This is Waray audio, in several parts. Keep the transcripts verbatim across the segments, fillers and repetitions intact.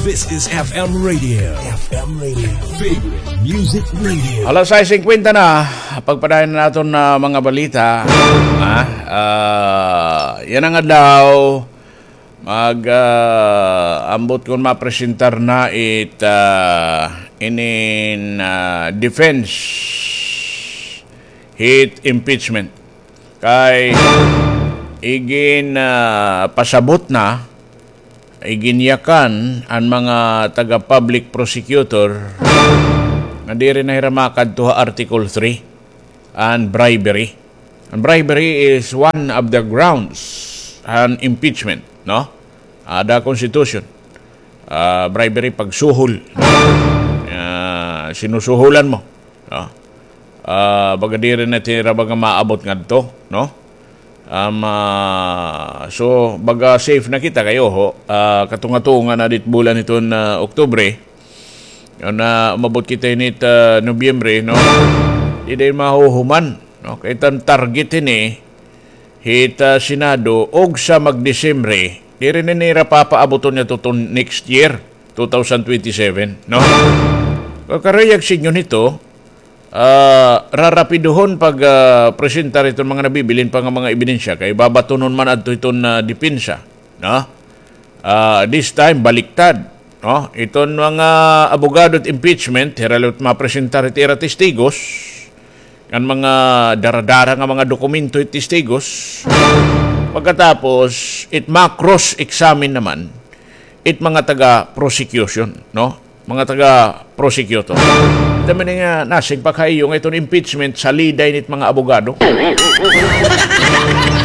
This is F M Radio. F M Radio. Favorite Music Radio. Alas sais singkwenta na, pagpadayon na naton, ah, mga balita. Ah, ah, yana nga adlaw, mag, ah, ambot kon mapresentar na it, ah, inin, ah, defense hit impeachment. Kay igin, ah, pasabot na, iginyakan an mga taga-public prosecutor nga diri na hira makadto ha Article three, an bribery. An bribery is one of the grounds an impeachment, no? Ada constitution. Ah, bribery, pagsuhol. Ah, sinusuhulan mo, no? Ah, baga diri na tira baga maabot ngadto, no? Um, ah, so, baga safe na kita kay oho, ah, katunga-tunga na dit bulan hiton, ah, Oktubre. Yon na umabot kita hinit, ah, Nobyembre, no? Di dayon mahuhuman, no? Kay it an target hini, hit, ah, Senado, ugsa mag-Disyembre, diri na nira papaaboton ngadto hiton next year, two thousand twenty-seven, no? Kakaruyag sidngon hito, ah, rarapidohon pag, ah, presentar hiton mga nabibilin pa nga mga ebidensya, kay babatonon man adto hiton, ah, depensa, no? Ah, this time, baliktad, no? Iton mga abogado hit impeachment, hira la it mapresentar hit ira testigos, ngan mga dara-dara nga mga dokumento hit testigos. Pagkatapos, it ma-cross-examine naman it mga taga-prosecution, no? Mga taga-prosecutor. Ito man nga nasing pa kayo nga iton impeachment, salida ini it mga abogado.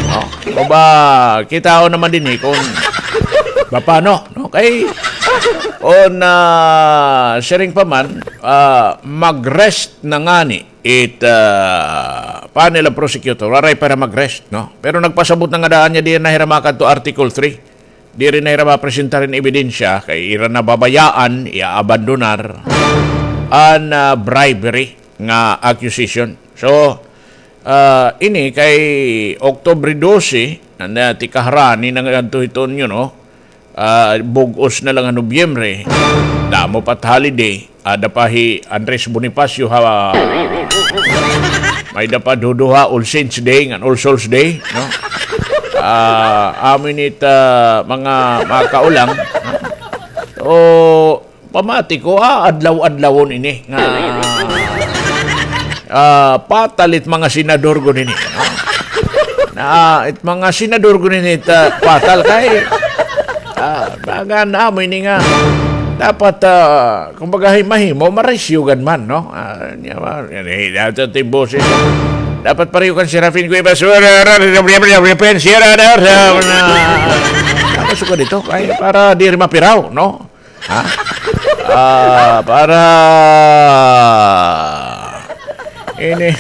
No? Baba, kitaon naman dinhi kon paano, no? Kay, on, ah, siring pa man, ah, mag-rest na ngani it, ah, panel of prosecutor, waray pa hira mag-rest, no? Pero nagpasabot na nga daan nga diri na hira makadto Article three. Diri na hira mapresentar hin ebidensya kay ira na babayaan, iaabandonar an, ah, bribery nga accusation. So, ah, ini kay Oktubre dose, na, na tikaharani na ngadto hiton, you know, ah, bug-os na la nga Nobyembre. Damo pa it holiday. Ada pa hi Andres Bonifacio ha, may-ada pa duduha, All Saints Day ngan All Souls Day, no? Ah, amo ini it, ah, mga makaulang, no? O, pamati ko, ah, adlaw-adlawon ini nga, ah, patal it mga senador gud ini, no? Na, it mga senador gud ini, ta, patal kay, ah, baga na amo ini nga dapat, ah, kumbaga, hi-, mahimo, marisyo gad man, no? Ah, nya ba, yan, eh, dapat it boses. Dapat pareho kan Serafin Cuevas, tapos ko dito, ay, para diri mapiraw, no? Ha? Ah, para ini,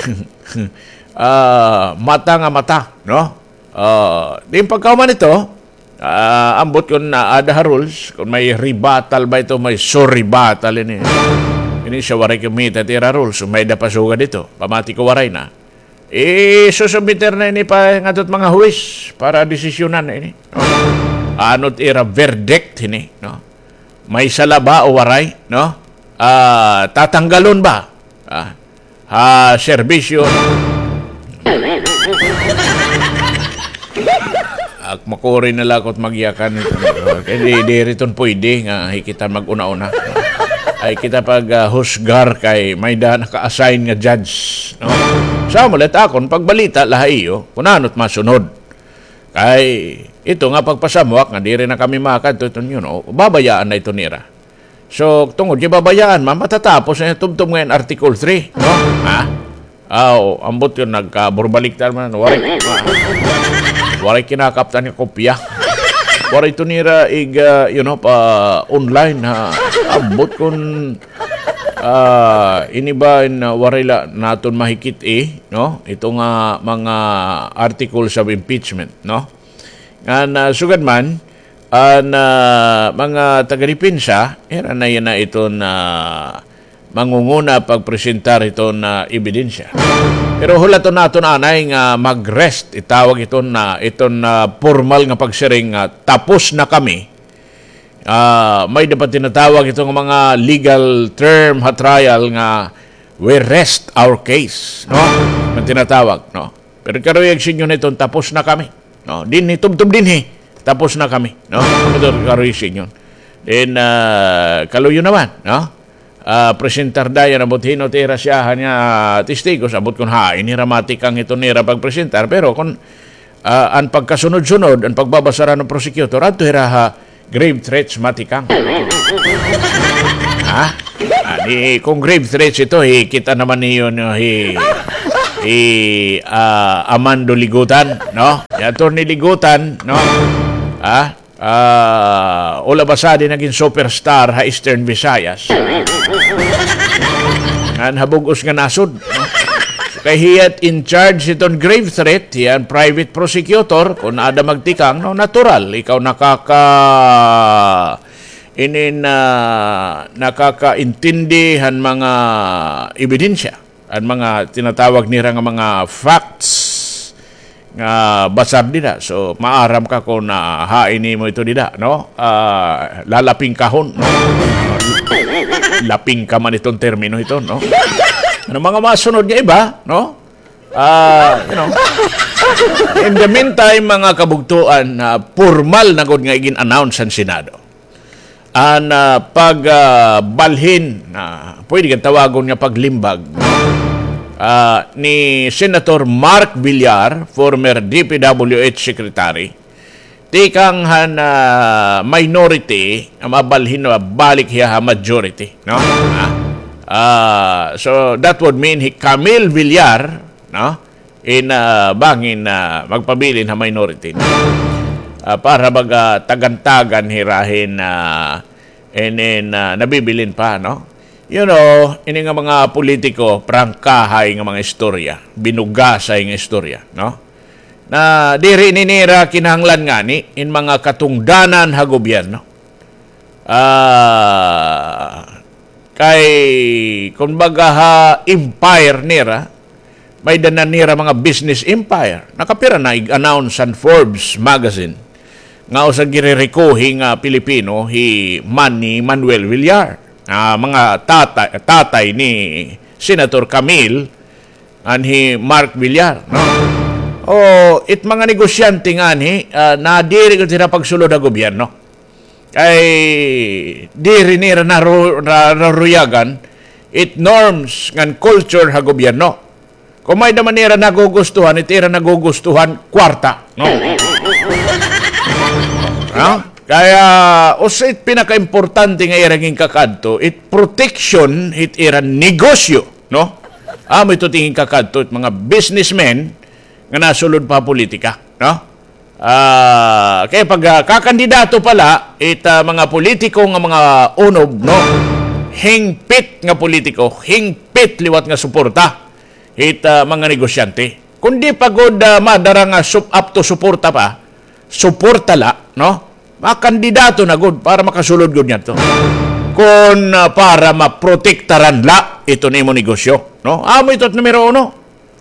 ah, mata nga mata, no? Ah, di pagkahuman ito, ah, ambot kon naada ha rules, kon may rebuttal ba ito, may surrebuttal ini. Ini siya waray kumita it ira rules, kon may-ada pa sugad ito. Pamati ko waray na. Isusubmitir na ini pa ngadto hit mga huwis para desisyonan na ini, no? Ano it ira verdict hini, no? May sala ba o waray, no? Ah, tatanggalon ba? Ah, ha serbisyo. Ak, makuri na la ako hit magyakan. Kay di, diri iton pwede nga hi kita mag-una-una. Ay kita pag, ah, husgar kay may-ada naka-assign nga judge, no? Sa amo la it akon pagbalita la ha iyo, kon ano it masunod. Kay ito nga pagpasamuak nga diri na kami makadto iton, you know, babayaan na ito nira. So, tungod kay babayaan man, matatapos na tubtob nga in Article three, no? Ha? Aw, ambot kon nagkaburbaliktad man, waray, waray kinakaptan nga kopya. Waray ito nira ig, ah, you know, pa-online, ha? Ambot kon, ah, ini ba in, ah, waray la naton mahikit-i, no? Ito nga mga articles of impeachment, no? Ngan, ah, sugad man, an, ah, mga taga-depensa, ira na yana iton, ah, mangunguna pagpresentar hiton, ah, ebidensya. Pero hulaton naton anay nga mag-rest, itawag iton, ah, iton, ah, pormal nga pagsiring nga tapos na kami Ah, may dapat tinatawag ito nga mga legal term ha trial nga we rest our case, no? May tinatawag, no? Pero karuyag sa inyo niton, tapos na kami, no? Dinhi, tubtob dinhi, tapos na kami, no? Amo ito karuyag sa inyo. Then, ah, kaluyo naman, no? Ah, presentar dayon, ambot hin-o it ira siyahan nga testigos, ambot kon hain hira matikang hiton ira pagpresentar, pero kon, ah, an pagkasunod-sunod, an pagbabasar han prosecutor, adto hira ha grave threats matikang. Ha? Ani, kon grave threats ito, hi, kita naman niyo, no, hi, hi, ah, Amando Ligutan, no? Hi Attorney Ligutan, no? Ha? Ah, ula ba sad nagin superstar ha Eastern Visayas. Ngan ha bug-os nga nasod, no? So, kay hiya it in charge hiton grave threat, hiya an private prosecutor, kon ada magtikang, no, natural, ikaw nakaka-, inin, ah, nakakaintindi han mga ebidensya. An mga tinatawag nira nga mga facts nga basar dida. So, maaram ka kon, ah, hain nimo ito dida, no? Ah, lalapingkahon, no? Lapingka man iton termino ito, no? Ano mga masunod nga iba, no? Ah, you know. In the meantime, mga kabugtoan, ah, pormal na gud nga igin-announce an Senado an, ah, pag, ah, balhin, ah, pwede kan tawagon nga paglimbag, ah, ni Senator Mark Villar, former D P W H secretary, tikang han, ah, minority, nga mabalhin nga balik hiya ha majority, no? Ah, ah, so that would mean hi Camille Villar, no? In, ah, bangin, ah, magpabilin ha minority, no? Ah, para baga tagan-tagan hira hin, ah, inin, ah, nabibilin pa, no? You know, ini nga mga politiko, prangkahay nga mga istorya, binugasay nga istorya, no? Na diri ni nira kinahanglan ngani in mga katungdanan ha gobyerno. Ah, kay, kumbaga, ha empire nira, may-ada na nira mga business empire. Nakapira na ig-announce an Forbes magazine nga usa girerekuhi nga Pilipino hi Manny Manuel Villar. Ah, mga tata-, tatay ni Senator Camille ngan hi Mark Villar, no? O, it mga negosyante nganhi, ah, nadiri gud hira pagsulod ha gobyerno. Kay diri nira naru-, na-, naruyagan it norms ngan culture ha gobyerno. Kon may-ada man nira nagugustuhan, it ira nagugustuhan, kwarta, no? Ha? Kaya, usa it pinakaimportante nga ira ginkakadto, it protection hit ira negosyo, no? Amo ito it ginkakadto, it mga businessmen nga nasulod pa ha politika, no? Ah, kay pag, ah, kakandidato pa la, it, ah, mga politiko nga mga unob, no? Hingpit nga politiko, hingpit liwat nga suporta hit, ah, mga negosyante. Kon di pa gud, ah, madara nga sup-, apto suporta pa, suporta la, no? Makandidato na gud para makasulod gud ngadto. Kon, ah, para maprotektaran la iton imo negosyo, no? Amo ito it numero uno.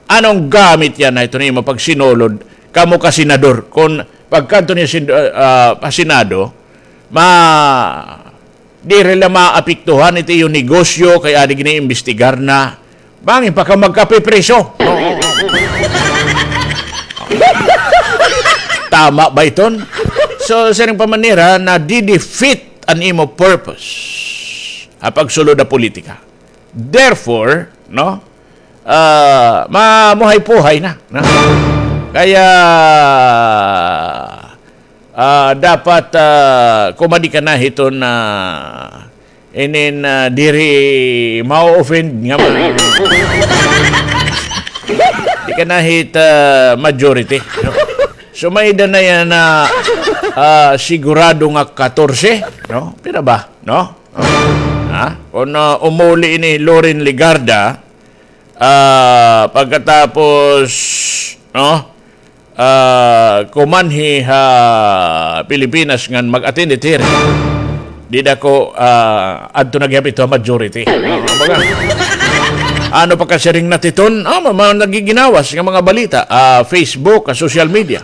Ano an gamit yana hiton imo pagsinulod kamo ka senador? Kon pagkadto niyo sin-, ah, ah, ha Senado, ma-, diri la maapektuhan it iyo negosyo kay adi gini-imbestigar na. Bangin pa ka magkapipriso. Tama ba iton? So, siring pa man nira, nadi-defeat an imo purpose ha pagsulod ha politika. Therefore, no, ah, mamuhay-puhay na, no? Kaya, ah, dapat, ah, kumadi ka na hiton, ah, inin, ah, diri ma-offend nga ma-, di ka na hit, ah, majority, no? So, may-ada na yana, ah, sigurado nga katorse, no? Pira ba, no? Ha? Kon, ah, umuli ini Loren Legarda, ah, pagkatapos, no? Ah, kumanhi ha Pilipinas ngan mag-attend it hearing. Dida ko, ah, adto na gihap ito ha majority. Kumbaga, ano pa ka siring na titon? Ah, ma-, mga nagiginawas nga mga balita, ah, Facebook, ah, social media.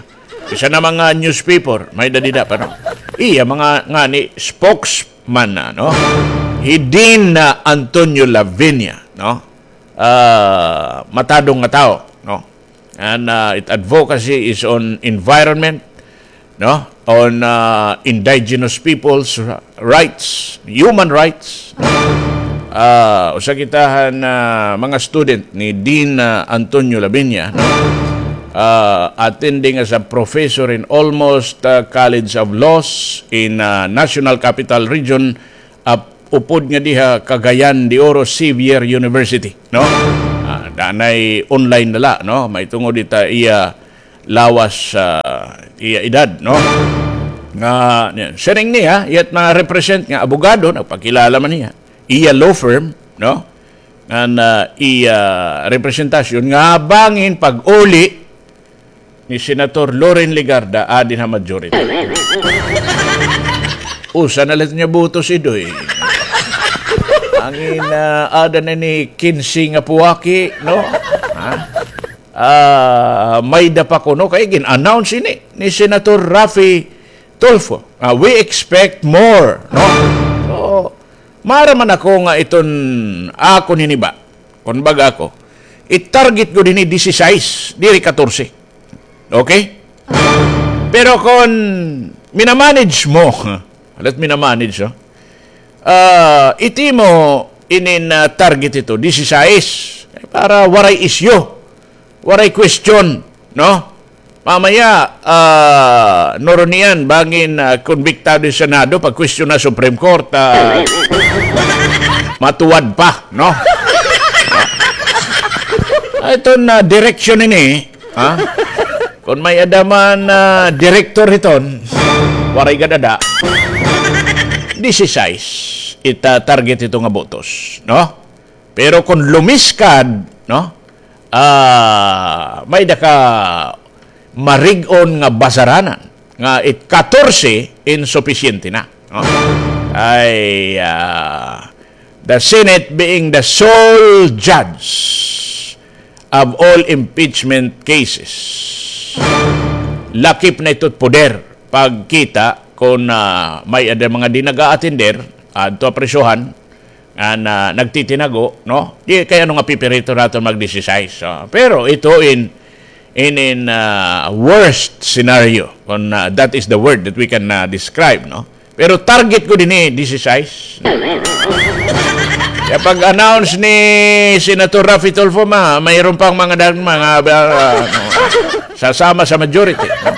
Bisan na mga newspaper, may-ada dida pa, no? iya mga ngani spokesman na, no? Hi Dean, ah, Antonio Laviña, no? Ah, matadong nga tawo, no? And, ah, it advocacy is on environment, no? On, ah, indigenous people's rights, human rights. Ah, usa kita han, ah, mga student ni Dean, ah, Antonio Laviña, no? Ah, attending as a professor in almost, ah, College of Laws in, ah, National Capital Region, ah, upod nga diha Cagayan de Oro Xavier University, no? Ah, danay online na la, no? Mahitungod ita iya lawas, ah, iya edad, no? Nga, siring niya, iya it mga represent nga abogado, nagpakilala man niya. Iya law firm, no? Ngan, ah, iya representasyon nga bangin pag-uli ni Senator Loren Legarda, adi na ha majority. Usa na la it iya botos, Idoy. Bangin, ah, aada na ini kinse nga puwaki, no? Ha? Ah, may-ada pa kuno kay gin-announce ini ni Senator Raffy Tulfo. Ah, we expect more, no? So, maaram man ako nga iton akon hiniba, kon baga ako, i-target ko dinhi disisais, diri katorse. Okay? Pero kon mina-manage mo, let mina-manage, oh. Ah, iti mo inin, ah, target ito, disisais. Para waray isyu, waray question, no? Mamaya, ah, nurunian, bangin, ah, konbiktado hin Senado, pag-question na Supreme Court, ah, matuwad pa, no? Ah, iton, ah, direksyon ini, ha? Kon may-ada man, ah, direktor hiton, waray gad ada, disisais, ita target ito nga botos, no? Pero kon lumiskad, no? Ah, may-ada ka marig-on nga basaranan nga it katorse insupisyente na, no? Ay, ah, the Senate being the sole judge of all impeachment cases, lakip na ito poder pagkita kon, ah, may-ada mga di nag-a-attender adto ha prisohan, nga na, nagtitinago, no? Di kay ano nga pipirito naton mag-disisais. So, pero ito in, in, in, ah, worst scenario, kung, ah, that is the word that we can, ah, describe, no? Pero target ko dinhi, disisais. Kaya pag-announce ni Senator Raffy Tulfo, ma, mayroon pang mga dag-, mga, ah, ano, sasama sa majority, no?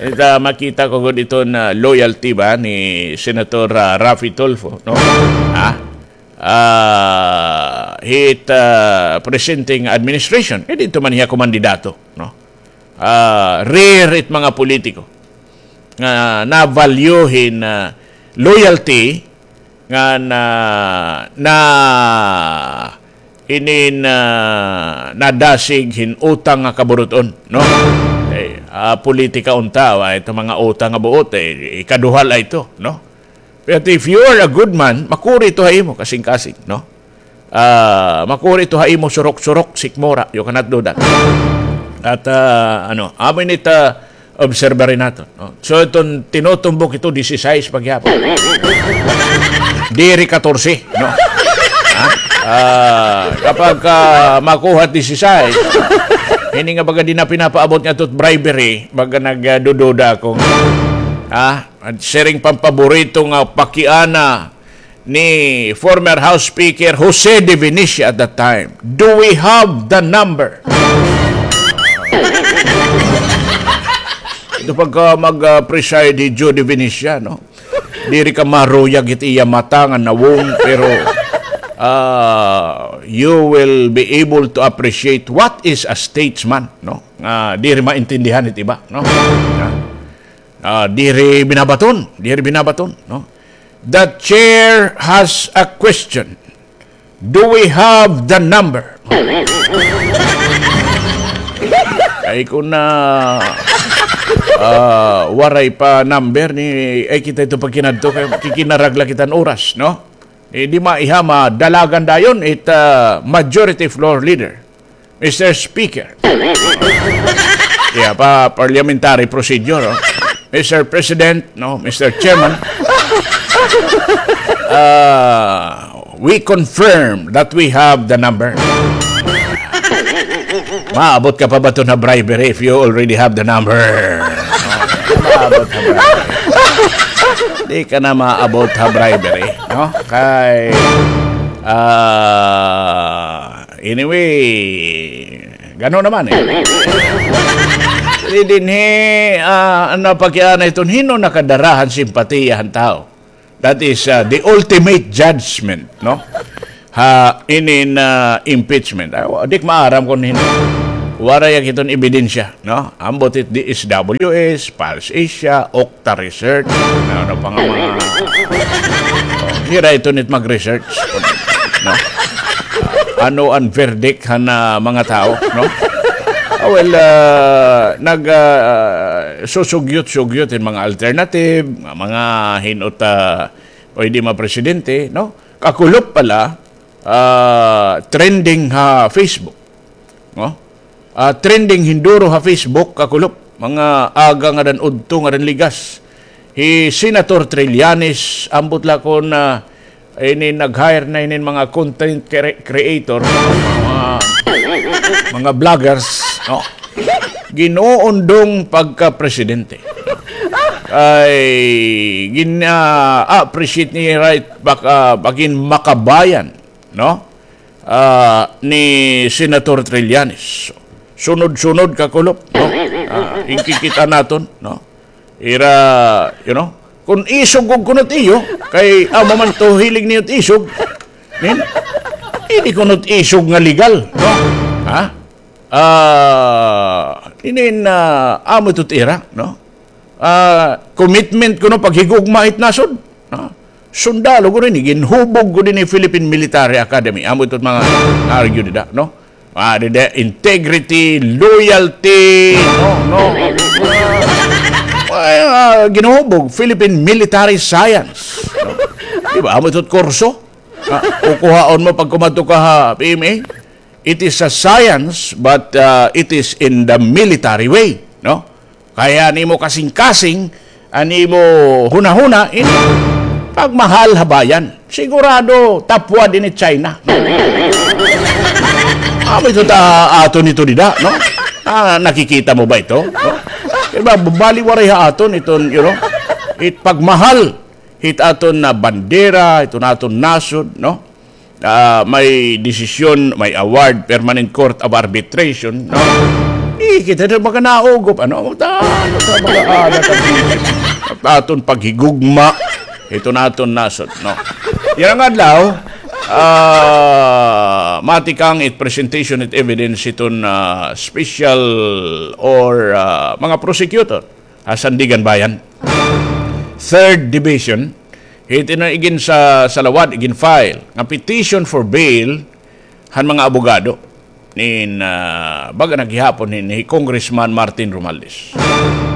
Ita, makita ko gud iton loyalty ba ni Senator, ah, Raffy Tulfo, no? Ha? Ah, hit, ah, presenting administration, eh, didto man hiya kumandidato, no? Ah, rare it mga politiko nga na-value hin, ah, loyalty nga na, na inin, ah, nadasig hin utang nga kaburut-on, no? Eh, ah, politika unta, ah, ito mga utang nga buot, eh, ikaduha la ito, no? But if you are a good man, makuri ito ha imo, kasingkasing, no? Ah, makuri ito ha imo, surok-surok, sikmura, you cannot do that. At, ah, ano, amo ini it, ah, obserbarin naton, no? So, iton tinutumbok ito, disisais pa gihapon. Diri katorse, no? Ha? Ah, kapag, ah, makuha it disisais, ini nga baga di na pinapaabot nga ito it bribery, baga nagdududa ako. Ha? An siring pa an paborito nga pakiana ni former House Speaker Jose De Venecia at that time. Do we have the number? Ito pagka mag, ah, preside hi Joe De Venecia, no? Diri ka maruyag it iya mata nga nawong, pero, ah, you will be able to appreciate what is a statesman, no? Nga diri maintindihan it iba, no? Ah, diri binabaton, diri binabaton, no? The chair has a question. Do we have the number? Ay, kon na, ah, waray pa number ni, ay, kita ito pagkinadto, kay kikinarag la kita hin oras, no? Eh, di maiha, madalagan dayon it, ah, majority floor leader. Mister Speaker. Yeah, pa parliamentary procedure, oh. Mister President, no, Mister Chairman, uh, we confirm that we have the number. Maabot ka pa ba to na bribery if you already have the number? No? Maabot ha bribery. Di ka na maabot ha bribery, no? Kay, ah, anyway, gano naman eh. Di dinhi, ah, ano pa kaya na iton, hin-o nakadara han simpatiya han tawo? That is, ah, the ultimate judgment, no? Ha, inin, ah, impeachment. Ay, wa-, di ko maaram kon hin-o. Waray ak iton ebidensya, no? Ambot it D S W S, Pulse Asia, Octa Research, ano, ano pa nga mga, oh, hira iton it mag-research, no? Ano an verdict han, ah, mga tawo, no? Ah, well, ah, nag, ah, susugyot-sugyot hin mga alternative, nga mga hin-o it, ah, pwede mapresidente, no? Kakulop pala, ah, trending ha Facebook, no? Ah, trending hinduro ha Facebook, kakulop. Mga aga ngada han udto, ngada han ligas. Hi Senator Trillanes, ambot la kon, ah, ini nag-hire na inin mga content cre-, creator, mga, mga vloggers, no? Ginuundong pagka-presidente. Ay, gin-, ah, appreciate ni right baka, bakin makabayan, no? Ah, ni Senator Trillanes. Sunod-sunod kakulop, no? Ah, inkikita naton, no? Ira, you know, kon isog gud kuno it iyo, kay amo man to hilig niyo it isog. Nin? Ini kuno it isog nga legal, no? Ha? Ah, inin, ah, amo ito it ira, no? Ah, commitment kuno paghigugma hit nasod, no? Sundalo gud ini, ginhubog gud ini Philippine Military Academy. Amo ito it mga argue dida, no? Ah, dida, integrity, loyalty, no, no. Ay, ah, ginhubog, Philippine Military Science, no? Di ba? Amo ito it kurso. Ah, kukuhaon mo pag kumadto ka ha P M A. It is a science, but, ah, it is in the military way, no? Kay an imo kasingkasing, an imo hunahuna, in pagmahal ha bayan. Sigurado, tapwad ini China. Amo ito ta aton ito dida, no? Ah, nakikita mo ba ito? No? Di ba, bali waray ha aton iton, you know, it pagmahal hit aton nga bandera, iton aton nasod, no? Ah, may desisyon, may award, Permanent Court of Arbitration, no? Di kita na mga naugop, ano? Ta-, ano ta mga anak ang aton paghigugma, iton aton nasod, no? Yana nga adlaw, ah, matikang it presentation it evidence iton, ah, special or, ah, mga prosecutor ha Sandiganbayan Third Division, hit inin igin sa, sa lawad, igin-file nga petition for bail han mga abogado nin, ah, baga na gihapon hin, hi Congressman Martin Romualdez.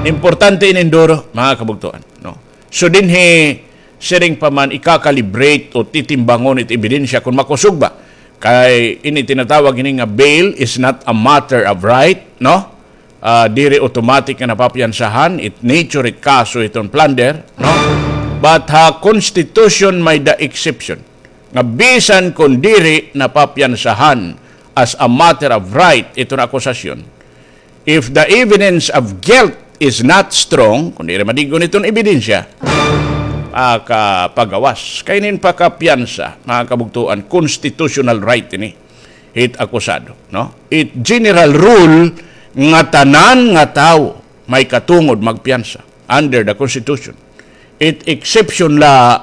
Importante inin duro, mga kabugtoan, no? So dinhi, siring pa man ikakalibrate o titimbangon it ebidensya kon makusog ba. Kay ini tinatawag ini nga bail is not a matter of right, no? Ah, diri automatic nga napapiyansahan, it nature it kaso iton plunder, no? But ha Constitution may-ada exception nga bisan kon diri napapiyansahan as a matter of right iton akusasyon, if the evidence of guilt is not strong, kon diri madig-on iton ebidensya, makapagawas. Kay inin pakapiyansa, mga kabugtoan, constitutional right ini hit akusado, no? It general rule nga tanan nga tawo may katungod magpiyansa under the Constitution. It exception la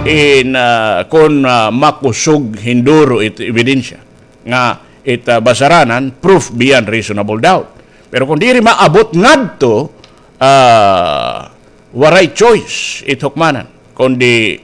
in, ah, kon, ah, makusog hinduro it ebidensya nga it, ah, basaranan, proof beyond reasonable doubt. Pero kon diri maabot ngadto, ah, waray choice it hukmanan, kundi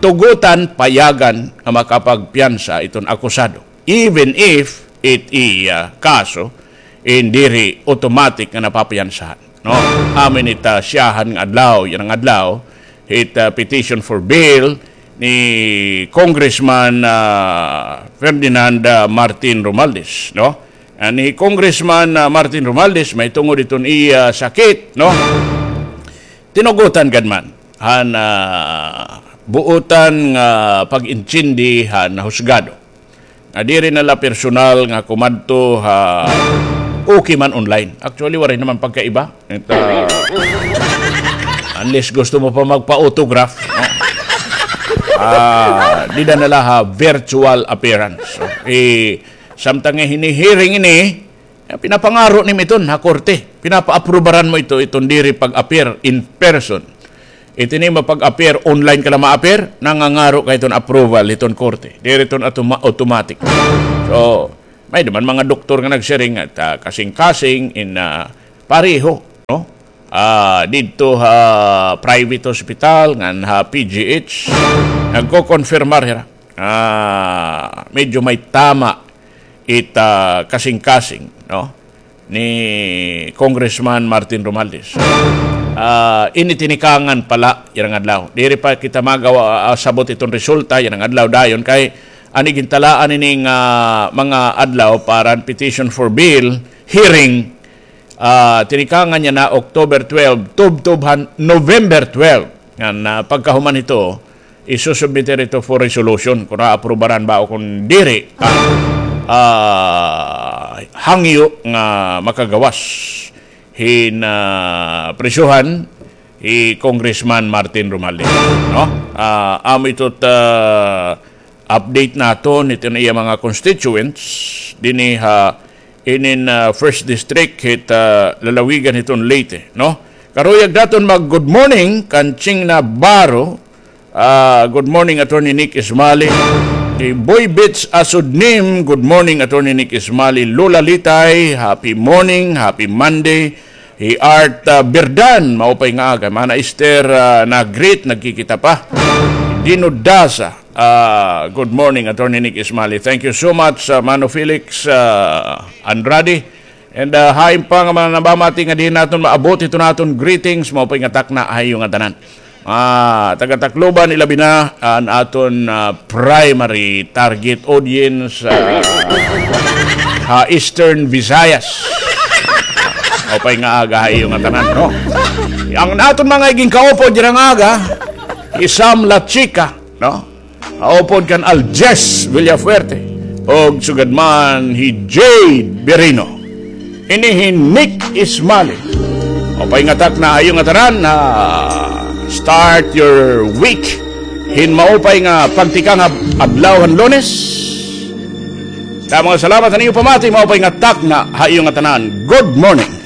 tugotan, payagan nga makapagpiyansa iton akusado, even if it iya kaso in diri automatic nga napapiyansahan, no? Amin it, ah, siyahan nga adlaw, yana nga adlaw, it, ah, petition for bail ni Congressman, ah, Ferdinand, ah, Martin Romualdez, no? Ah, ni Congressman, ah, Martin Romualdez, mahitungod iton iya sakit, no? Tinugutan gad man han, ah, buotan nga pag-intindi han husgado nga diri na la personal nga kumadto ha okay man online. Actually, waray naman pagkaiba. It, ah, unless gusto mo pa magpa-autograph, no? Ah, dida na la ha virtual appearance. So, eh, samtang nga hini-hearing ini, eh, pinapangaro nimo iton ha korte. Pinapa-aprubaran mo ito, iton diri pag-appear in person. Iti nimo pag-appear, online ka la ma-appear, nangangaro ka iton approval iton korte. Diri iton atoma-, automatic. So, may duman mga doktor nga nagsiring nga, ah, kasingkasing in, ah, pareho, no? Ah, didto ha private hospital, ngan ha P G H, nagko-confirmar hira. Ah, medyo may tama it, ah, kasingkasing, no, ni Congressman Martin Romualdez. Ah, ini tinikangan pa la yana nga adlaw. Diri pa kita magawa, ah, sabot iton resulta yana nga adlaw dayon kay an igintalaan ini nga mga adlaw para an petition for bail hearing, ah, tinikangan yana October twelve, tubtob han November twelve. Ngan, ah, pagkahuman hito, isusubmit ito for resolution kung aaprubaran ba o kung diri, ah, ah, hangyo nga makagawas hin, ah, prisohan hi Congressman Martin Romualdez, no? Ah, amo ito, ah, update naton iton iya mga constituents dinhi ha inin, ah, First District hit, ah, lalawigan hiton Leyte, no? Karuyag naton mag-good morning kan Ching Navarro. Ah, good morning, Attorney Nick Ismali. Kay Boy Beats Asudnim, good morning, Attorney Nick Ismali. Lola Litay, happy morning, happy Monday. Hi Art, ah, Birdan, maupay nga aga. Mana Esther, ah, nag-greet, nagkikita pa. Dino Daza, ah, good morning, Attorney Nick Ismali. Thank you so much, ah, Mano Felix, ah, Andrade. And, ah, hain pa nga mga nabamati nga diin naton maabot ito naton greetings, maupay nga takna ha iyo ngatanan. Ah, taga Tacloban, ilabi na an aton, ah, primary target audience, ah, ha Eastern Visayas. Maupay nga aga ha iyo ngatanan, no? An aton mga iginkaupod yana nga aga, hi Sam La Chica, no? Kaupod kan Aljes Villafuerte, og sugad man hi Jade Berino. Ini hi Nick Ismali. Maupay nga takna ha iyo ngatanan, ah, start your week hin maupay nga pagtikang ha adlaw han Lunes. Damo nga salamat han iyo pamati, maupay nga takna ha iyo ngatanan. Good morning.